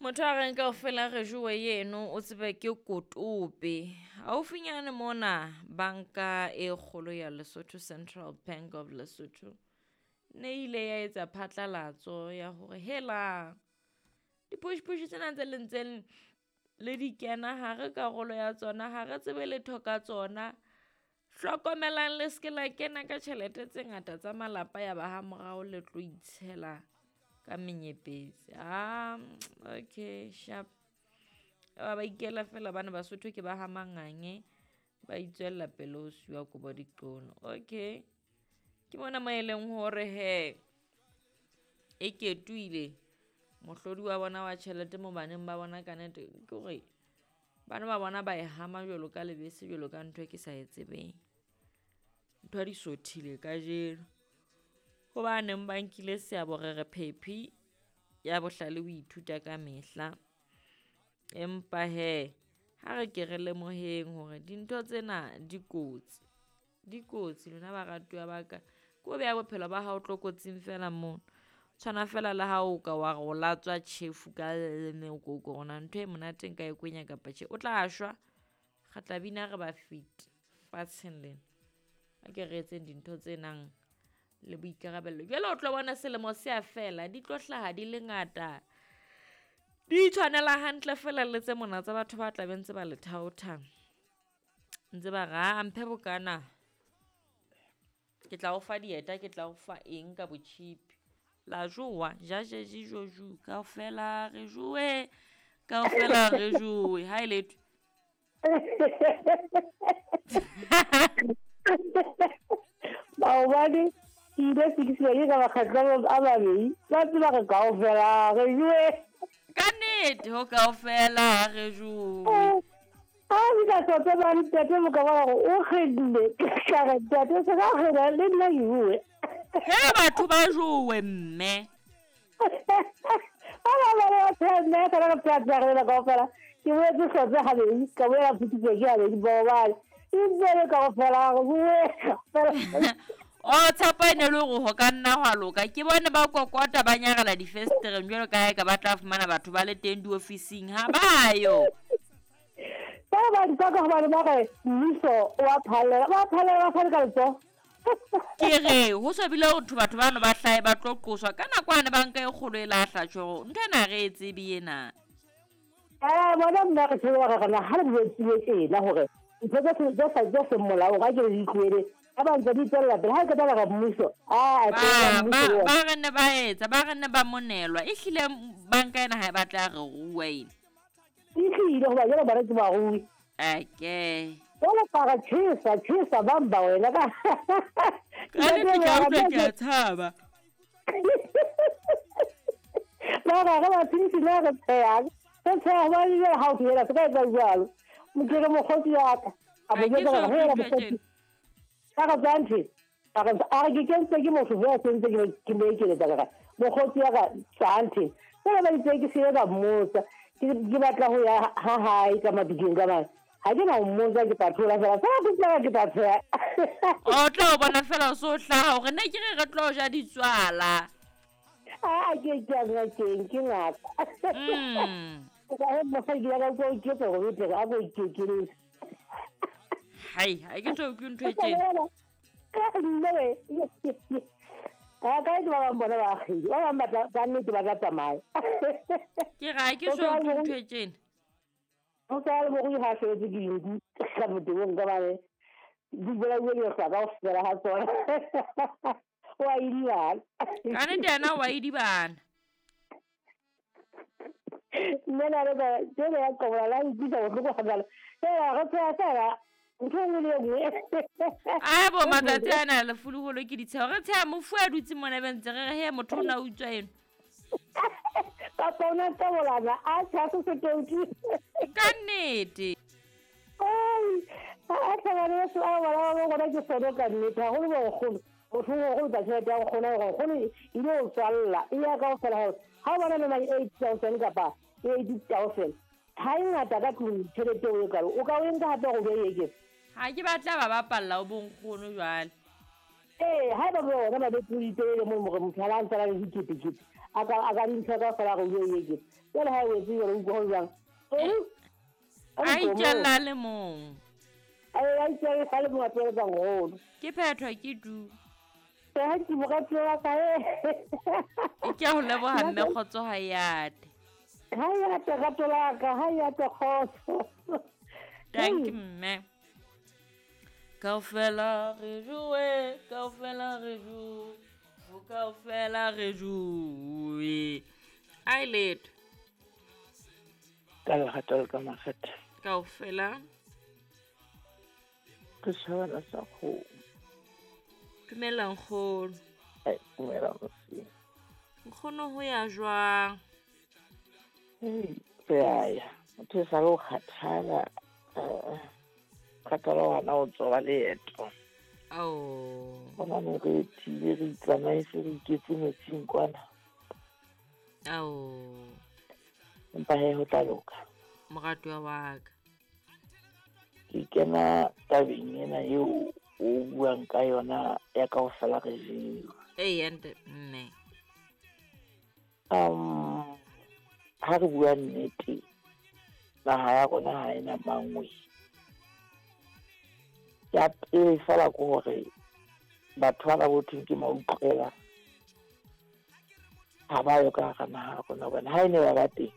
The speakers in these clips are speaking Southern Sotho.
Motho a reng kaofela re jowe yeno o tsebe ke kotope. Haufinyane mona banka e kgolo ya Lesotho, Central Bank of Lesotho, ne ile ya etsa phatlalatso ya hore hela dipush-push tsena tse le ntseng le di kena ha re karolo ya tsona, ha re tsebe letho ka tsona. Hlokomelang le se ke la kena ka tjhelete tse ngata tsa malapa ya ba ha morao le tlo itshela ka menyepetsi. Ah, okay, sharp. Ba ba ikela fela bana Basotho ke ba ha Mangange ba itswella pele ho siwa kobo diqono. Okay. Ke mona mo e leng hore he e ketuile mohlodi wa bona wa tjhelete mo baneng ba bona ka nete ke hore bana ba bona ba e hama jwalo ka lebese jwalo ka ntho e ke sa e tsebeng. Ntho di sothile kajeno. Ho ba neng ba nkile seabo re re phephi ya bohlale o ithuta ka mehla. Empa he ha re ke re lemoheng hore dintho tsena di kotsi. Di kotsi lona baratuwa ba ka. Ke o beha bophelo ba hao tlokotsing fela mono. Tshwana fela le ha o ka wa re o latswa tjhefu ka leleme o ko ko rona ntho e monate nka e kwenya kapa tjhe. O tla shwa. Re tla bina re ba fiti fatsheng lena. A ke re etseng dintho tse nang le boikarabello. Jwale o tlo bona selemo se a fela, di tlo hlaha di le ngata. Di tshwanela hantle fela le tse mona tsa batho ba tla be ntse ba le thaotha. Ntse ba re, "Ah, mphe bokana. Ke tla o fa dieta, ke tla o fa eng ka botjhipi." La jowa, ja je ji jo ju, kaofela re jowe, kaofela re jowe. Ha e letho. Maobane ke ile sekisiwa ke ka makgetlo a mabedi ba tseba re kaofela re jowe. Ka nnete ho kaofela re jowe. A ke ka tsotse ba ntate mo ka bona gore o kgenne ka re ntate se ka kgena le nna ke bue. He batho ba jowe mme. Ba ba ba ba tsheha mme ka re tsheha tsheha re kaofela ke boetse hlotse gabedi ka boela phuthutswe ke gabedi maobane e ntse le kaofela re bue kaofela. O tshepo e ne le hore ho ka nna hwa loka. Ke bone ba kokota ba nyarela difestereng jwalo ka ha eka ba tla fumana batho ba le teng diofising. Ha ba yo. Ba ba nka ka hobane ba re mmuso o a phallela, ba phallela ba fane ka letsoho. Ke re ho so bile ho thwe batho bano ba hlahe ba tlo qoswa ka nako ane banka e kgolo e lahla tjho ntho ena re e tsebe ena. Bona nna re tsebe hore rena ha re jwetsile tjena hore ntho tse sa tse seng molaong ha ke re di tlohele ha ba ntse di tswella pele ha ke tla re mmuso a ba ba re ne ba etsa ba re ne ba monelwa ehlile banka ena ha e batla re rua ena. Ehlile hoba jwale bona ke barui. Okay. Jwale ka re tjhesa tjhesa bamba wena ka. Ka nnete ke a utlwa ke a tshaba. Ba re re ba tshedise na re tshehang. Re tsheha hobane jwale ha o tlohela se ka etsa jwalo. Ke re mokgotsi wa ka. A mo jwetsa hore hela mokgotsi. Ka re tsanthe. A re a re ke kentse ke motho jwale se ntse ke mo ekeletsa ka re mokgotsi wa ka tsanthe. Jwale ba itse ke se ka mmotsa. Ke batla ho ya ha hae ka mabiding ka mane. Ha ke na ho mmotsa ke tla thola fela. Fela ke tla ke tla tsheha. O tla o bona fela o so hlaha hore ne ke re re tlo ja ditswala. A ke ke a ngakeng ke ngaka. Ka he mosadi ya ka ko iketsa hore o tle a ko ikekeletse. Hai, ha ke so utlwe ntho e tjena. Ka nne we. Ka ka ke ba bang bona ba akgile. Ba bang ba tla ka nnete ba tla tsamaya. Ke ra ke so utlwe ntho e tjena. Ho sa le morui ha sebetse ke dinku ka motebong ka bane di bolauwe ke lehlwa kaofela ha tsona. O a idibana. Ka nnete yena o a idibana. Nna na le ka tsela ya qobola la utlwisa bohloko hangata. Fela re tsheha fela ntho e nngwe le e nngwe. A bo matsatsi ana lefuloholo ke ditsheho. Re tsheha mofu a dutse mona be ntse re re he motho o na utswa eno. Kapa o na qobolana a tsheha se se touti. Ka nnete. A tlhabane se a bona ba bona ke sone ka nnete haholo bo nkgono. Motho o go tla tjhelete ya nkgono hore nkgono e ile ho tswalla e ya kaofela hore ha o bona le mang 8,000 kapa 80,000 ha e ngata ka tlung tjhelete eo e kalo o ka o e nka hape hore o e eketse. Ha ke batla ba bapalla o bonkgono jwale. Ee, ha eba bona ba be pudi telele moo hore motho ha a ntse a le diketekete a ka dintho ka fela go bue ye ke jale ha e wetse jalo utlwa go jang a itjalla a le mong a itjalla a le mong a tsweletsang golo ke phethwa ke du ha ke morati wa ka e ke a go leboga mme kgotso ha yate ha yate rato la ka ha yate kgotso thank you mme kaofela re joe kaofela re joe kaofela re joe a e letho ka lerato le ka makgetha kaofela ke shabana sa kgomo dumela nkgono dumela mosing nkgono ho ya jwang re a ya motho e sale o kgathala kgathala gona o tsoba leeto gona ne re thile re itsamaise re iketse metsing kwana empa he ho tla loka moratuwa wa ka ke kena tabeng ena eo o buang ka yona ya kaofela re jewa ee nte mme ha re bua nnete naha ya rona ha ena mangwe ya pele fela ke hore batho bana bo thweng ke mautlwela ha ba yo ka hara naha ya rona hobane ha e ne ba ba teng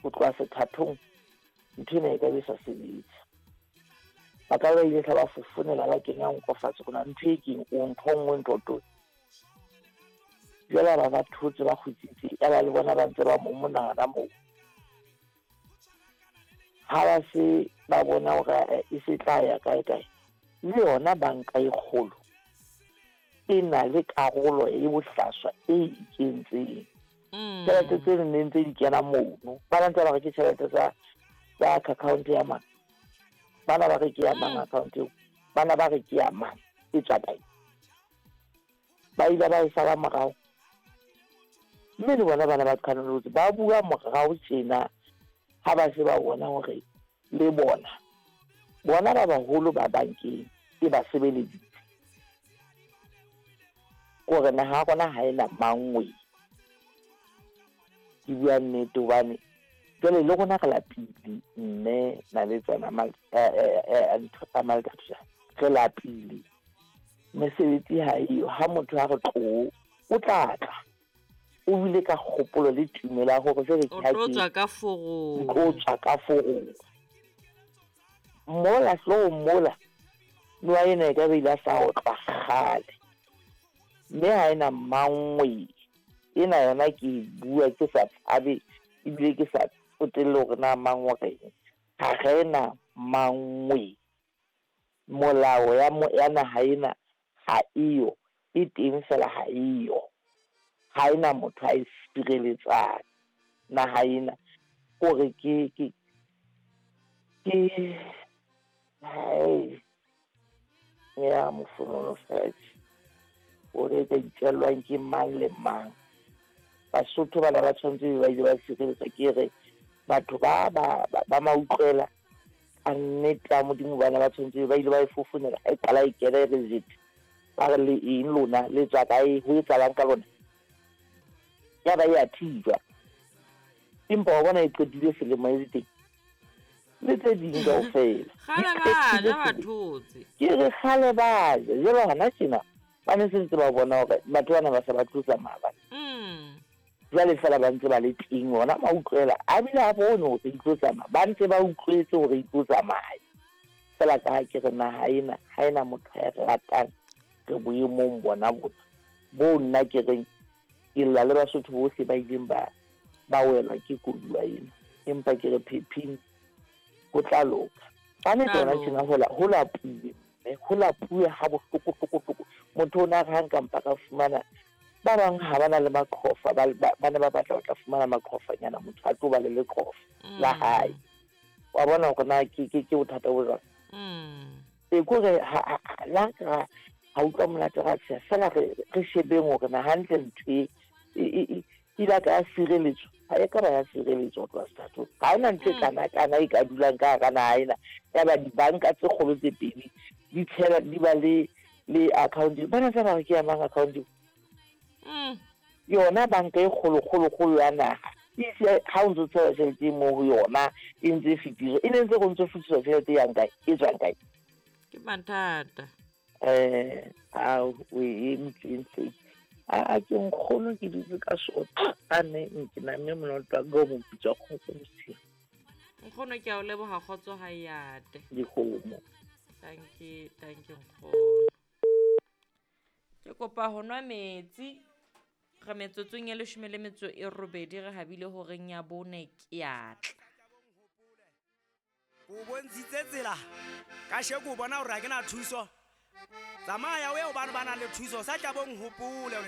ho tloha sethathong ntho ena e ka be sa sebetse ba ka ba ile ba fofonela ba kenya nko fatshe rona ntho e keng o ntho nngwe ntho to jwale ba ba thotse ba kgutsitse ya ba le bona ba ntse ba momonana moo ha ba se ba bona hore e se tla ya kae kae le yona banka e kgolo e na le karolo e bohlaswa e ikentseng tjhelete tse neng tse di kena mono ba ntse ba re ke tjhelete tsa account ya mang bana ba re ke ya mang account eo bana ba re ke ya mang e tswa kae ba ile ba e sala morao mme le bona bana ba qhanolotse ba bua morao tjena ha ba se ba bona hore le bona bona ba baholo ba bankeng e ba sebeleditse kore naha ya rona ha ena mangwe ke bua nnete hobane jwale le rona re lapile mme na le tsona re lapile mesebetsi ha eyo ha motho a re tlo o tla tla o bile ka kgopolo le tumelo ya hore jwale ke tlo tswa ka forong o tswa ka forong mola hloohong mola noa ena e ka be ile sa otlwa kgale mme ha ena mangwe ena yona ke e bua ke sa tshabe ebile ke sa tsotelle hore na mang o reng ha re na mangwe molao ya naha ena ha eyo e teng fela ha eyo ha ena motho a e sireletsang naha ena kore ke hai ya mofonono fatshe o re ka itjellwang ke mang le mang Basotho bana ba tshwanetse ba ile ba sireletsa ke re batho ba ba mautlwela a nnete ya Modimo bana ba tshwanetse ba ile ba e fofonela ha e qala e kena e re jete ba re le eng lona le tswa kae ho etsahalang ka lona ya ba e a thijwa empa wa bona e qetile selemo e le teng le tse ding kaofela kgale ba ja ba thotse ke re kgale ba ja jwale hona tjena ba ne se ntse ba bona hore batho bana ba sa ba tlo tsamaya bana jwale fela ba ntse ba le teng ona mautlwela a bile a bone hore di tlo tsamaya ba ntse ba utlwetse hore di tlo tsamaya fela ka ha ke re naha ena ha ena motho ya re ratang re boemong bona bona bo nna ke reng ke lla le Basotho bohle ba ileng ba welwa ke koduwa ena empa ke re phephing ho tla loka ka nnete hona tjena ho lapuwe mme ho lapuwe ha bohloko hloko motho o na re ha nka mpa ka fumana ba bang ha ba na le maqhofa ba ne ba batla ho tla fumana maqhofanyana motho a tlo ba le leqhofa la hae wa bona hore na ke bothata bo jwang e kore la ka ha utlwa monate ra tsheha fela re shebeng hore na hantle ntho e ile ka ya sireletswa ha e ka ba ya sireletswa ho tloha sethathong ha hona ntho e kana e ka dulang ka hara naha ena ya ba dibanka tse kgolo tse pedi di tshela di ba le account bana tsa ba re ke ya mang account Yona banka e kgolo kgolo kgolo ya naha e ise ha o ntso tshela tjhelete e mo ho yona e ntse e fetiswa, e ne ntse go ntso fetiswa tjhelete e yang kae, e tswang kae? Ke mathata. Ao o e emetseng a ke nkgono ke dutse ka sotho a ne ke namme monoto wa ka o moputswa kgotso mosigo. Nkgono ke a o leboga, kgotso ga e ate. Dikgomo. Dankie, dankie nkgono. Ke kopa ho nwa metsi. Re metsotsong e 18 re habile horeng ya 4 ke a tla. Ko bontshitse tsela ka sheko o bona hore ha ke na thuso. Tsamaya o ye ho bano ba nang le thuso, sa tla bong hopole.